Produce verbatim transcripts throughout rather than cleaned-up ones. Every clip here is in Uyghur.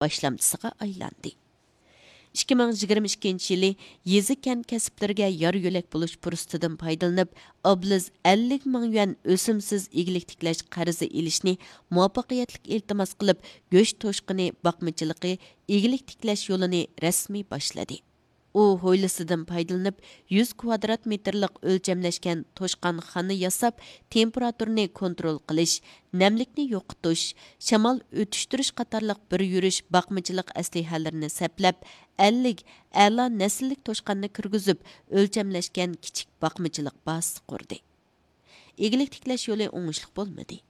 باشلامچىسىغا ئايلاندى. ئىككى مىڭ يىگىرمە ئىككىنچى يىلى يېزا، كەنت كەسىپلىرىگە يار يۆلەك بولۇش پۇرسىتىدىن پايدىلىنىپ، ئابلىز ئەللىك مىڭ يۈەن ئۆسۈمسىز ئىگىلىك تىكلەش قەرزى ئېلىشنى مۇۋەپپەقىيەتلىك ئىلتىماس قىلىپ، گۆش توشقىنى باقمىچىلىقى ئىگىلىك تىكلەش يولىنى رەسمىي باشلىدى. ئۇ ھويلىسىدىن پايدىلىنىپ، يۈز كۋادرات مېتىرلىق ئۆلچەملەشكەن توشقانخانا ياساپ، تېمپېراتۇرىنى كونترول قىلىش، نەملىكنى يوقىتىش، شامال ئۆتۈشتۈرۈش قاتارلىق بىر يۈرۈش باقمىچىلىق ئەسلىھەلىرىنى سەپلەپ، ئەللىك ئەلا نەسىللىك توشقاننى كىرگۈزۈپ، ئۆلچەملەشكەن كىچىك باقمىچىلىق بازىسى قۇردى. ئىگىلىك تىكلەش يولى ئوڭۇشلۇق بولمىدى.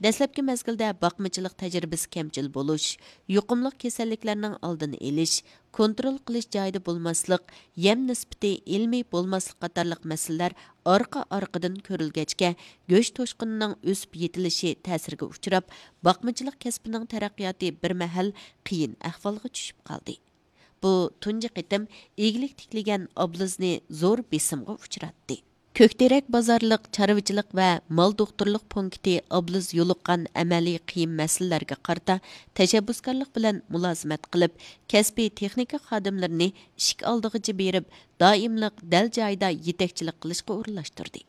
دەسلەپكى مەزگىلدە باقمىچىلىق تەجرىبىسى كەمچىل بولۇش، يۇقۇملۇق كېسەللىكلەرنىڭ ئالدىنى ئېلىش، كونترول قىلىش جايىدا بولماسلىق، يەم نىسبىتى ئىلمىي بولماسلىق قاتارلىق مەسىلىلەر ئارقا-ئارقىدىن كۆرۈلگەچكە، گۆش توشقىنىنىڭ ئۆسۈپ يېتىلىشى تەسىرگە ئۇچراپ، باقمىچىلىق كەسپىنىڭ تەرەققىياتى بىر مەھەل قىيىن ئەھۋالغا چۈشۈپ قالدى. بۇ تۇنجى قېتىم ئىگىلىك تىكلىگەن ئابلىزنى زور بېسىمغا ئۇچراتتى. كۆكتېرەك بازارلىق چارۋىچىلىق ۋە مال دوختۇرلۇق پونكىتى ئابلىز يولۇققان ئەمەلىي قىيىن مەسىلىلەرگە قارىتا تەشەببۇسكارلىق بىلەن مۇلازىمەت قىلىپ، كەسپىي تېخنىكا خادىملىرىنى ئىشىك ئالدىغىچە بېرىپ، دائىملىق دەل جايىدا يېتەكچىلىك قىلىشقا ئورۇنلاشتۇردى.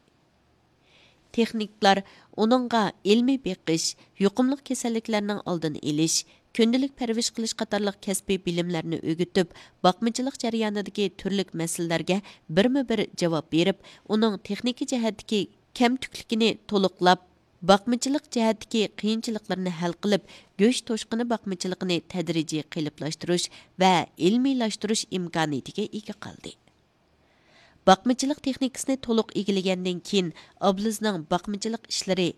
تېخنىكلار ئۇنىڭغا ئىلمىي بېقىش، يۇقۇملۇق كېسەللىكلەرنىڭ ئالدىنى ئېلىش، كۈندىلىك پەرۋىش قىلىش قاتارلىق كەسپىي بىلىملەرنى ئۆگىتىپ، باقمىچىلىق جەريانىدىكى تۈرلۈك مەسىلىلەرگە بىرمۇ بىر جاۋاب بېرىپ، ئۇنىڭ تېخنىكا جەھەتتىكى كەمتۈكلۈكىنى تولۇقلاپ، باقمىچىلىق جەھەتتىكى قىيىنچىلىقلىرىنى ھەل قىلىپ، گۆش توشقىنى باقمىچىلىقىنى تەدرىجىي قېلىپلاشتۇرۇش ۋە ئىلمىيلاشتۇرۇش ئىمكانىيىتىگە ئىگە قىلدى. باقمىچىلىق تېخنىكىسىنى تولۇق ئىگىلىگەندىن كېيىن، ئابلىزنىڭ باقمىچىلىق ئىشلىرى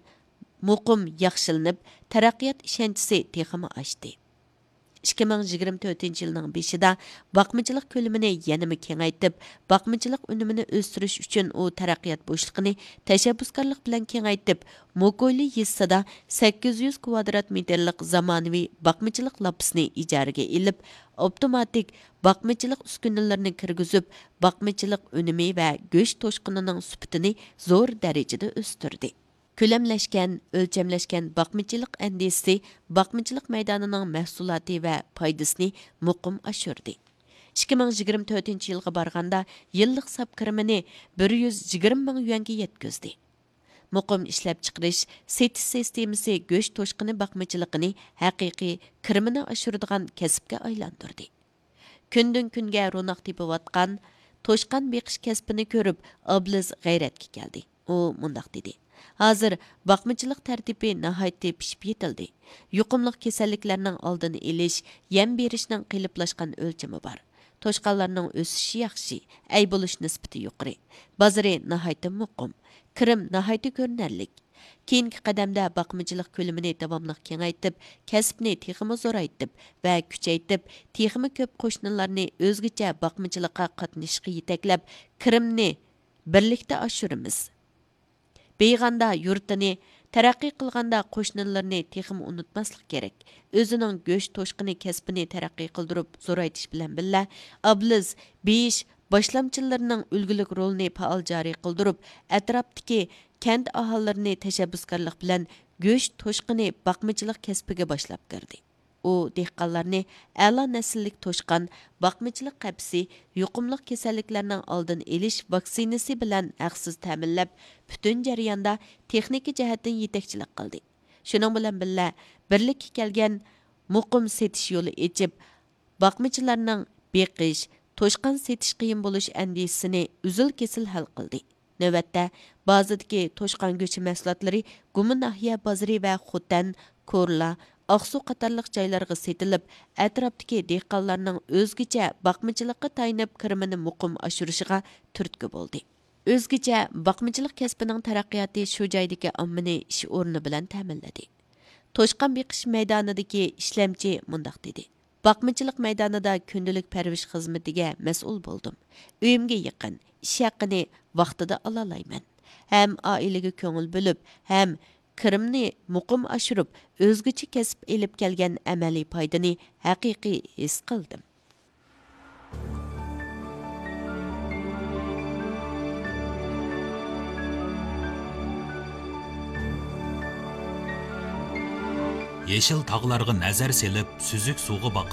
مۇقىم ياخشىلىنىپ، تەرەققىيات ئىشەنچىسى تېخىمۇ ئاشتى. ئىككى مىڭ يىگىرمە تۆتىنچى يىلنىڭ بېشىدا باقمىچىلىق كۆلىمىنى يەنىمۇ كېڭەيتىپ، باقمىچىلىق ئۈنۈمىنى ئۆستۈرۈش ئۈچۈن ئۇ تەرەققىيات بوشلۇقىنى تەشەببۇسكارلىق بىلەن كېڭەيتىپ، موكويلى يېزىسىدا سەككىز يۈز كۋادرات مېتىرلىق زامانىۋى باقمىچىلىق لاپىسىنى ئىجارىگە ئېلىپ، ئاپتوماتىك باقمىچىلىق ئۈسكۈنىلىرىنى كىرگۈزۈپ، باقمىچىلىق ئۈنۈمى ۋە گۆش توشقىنىنىڭ سۈپىتىنى زور دەرىجىدە ئۆستۈردى. كۆلەملەشكەن، ئۆلچەملەشكەن باقمىچىلىق ئەندىزىسى باقمىچىلىق مەيدانىنىڭ مەھسۇلاتى ۋە پايدىسىنى مۇقىم ئاشۇردى. ئىككى مىڭ يىگىرمە تۆتىنچى يىلغا بارغاندا، يىللىق ساپ كىرىمىنى بىر يۈز يىگىرمە مىڭ يۈەنگە يەتكۈزدى. مۇقىم ئىشلەپچىقىرىش، سېتىش سىستېمىسى گۆش توشقىنى باقمىچىلىقىنى ھەقىقىي كىرىمىنى ئاشۇرىدىغان كەسىپكە ئايلاندۇردى. كۈندىن كۈنگە روناق تېپىۋاتقان توشقان بېقىش كەسپىنى كۆرۈپ، ئابلىز غەيرەتكە كەلدى. ئۇ مۇنداق دېدى: «ھازىر باقمىچىلىق تەرتىپى ناھايىتى پىشىپ يېتىلدى. يۇقۇملۇق كېسەللىكلەرنىڭ ئالدىنى ئېلىش، يەم بېرىشنىڭ قېلىپلاشقان ئۆلچىمى بار. توشقانلارنىڭ ئۆسۈشى ياخشى، ئەي بولۇش نىسبىتى يۇقىرى. بازىرى ناھايىتى مۇقىم. كىرىم ناھايىتى كۆرۈنەرلىك. كېيىنكى قەدەمدە باقمىچىلىق كۆلىمىنى داۋاملىق كېڭەيتىپ، كەسىپنى تېخىمۇ زورايتىپ ۋە كۈچەيتىپ، تېخىمۇ كۆپ قوشنىلارنى ئۆزگىچە باقمىچىلىققا قاتنىشىشقا يېتەكلەپ، كىرىمنى بىرلىكتە ئاشۇرىمىز. بېيىغاندا يۇرتىنى، تەرەققىي قىلغاندا قوشنىلىرىنى تېخىمۇ ئۇنتۇماسلىق كېرەك.» ئۆزىنىڭ گۆش توشقىنى كەسپىنى تەرەققىي قىلدۇرۇپ زورايتىش بىلەن بىللە، ئابلىز بېيىش باشلامچىلىرىنىڭ ئۈلگىلىك رولىنى پائال جارى قىلدۇرۇپ، ئەتراپتىكى كەنت ئاھالىلىرىنى تەشەببۇسكارلىق بىلەن گۆش توشقىنى باقمىچىلىق كەسپىگە باشلاپ كىردى. ئۇ دېھقانلارنى ئەلا نەسىللىك توشقان، باقمىچىلىق قەپىسى، يۇقۇملۇق كېسەللىكلەرنىڭ ئالدىنى ئېلىش ۋاكسىنىسى بىلەن ھەقسىز تەمىنلەپ، پۈتۈن جەرياندا تېخنىكا جەھەتتىن يېتەكچىلىك قىلدى. شۇنىڭ بىلەن بىللە، بىرلىككە كەلگەن مۇقىم سېتىش يولى ئېچىپ، باقمىچىلارنىڭ بېقىش، توشقان سېتىش قىيىن بولۇش ئەندىشىسىنى ئۈزۈل-كېسىل ھەل قىلدى. نۆۋەتتە، بازىدىكى توشقان گۆشى مەھسۇلاتلىرى گۇما ناھىيە بازىرى ۋە خوتەن، كورلا، ئاقسۇ قاتارلىق جايلارغا سېتىلىپ، ئەتراپتىكى دېھقانلارنىڭ ئۆزگىچە باقمىچىلىققا تايىنىپ كىرىمىنى مۇقىم ئاشۇرۇشىغا تۈرتكە بولدى. ئۆزگىچە باقمىچىلىق كەسپىنىڭ تەرەققىياتى شۇ جايدىكى ئاممىنى ئىش ئورنى بىلەن تەمىنلىدى. توشقان بېقىش مەيدانىدىكى ئىشلەمچى مۇنداق دېدى: «باقمىچىلىق مەيدانىدا كۈندىلىك پەرۋىش خىزمىتىگە مەسئۇل بولدۇم. ئۆيۈمگە يېقىن، ئىش ھەققىنى ۋاقتىدا ئالالايمەن. ھەم ئائىلىگە كۆڭۈل بۆلۈپ، ھەم كىرىمنى مۇقىم ئاشۇرۇپ، ئۆزگىچە كەسىپ ئېلىپ كەلگەن ئەمەلىي پايدىنى ھەقىقىي ھېس قىلدىم.» يېشىل تاغلارغا نەزەر سېلىپ، سۈزۈك سۇغا باقىمەن.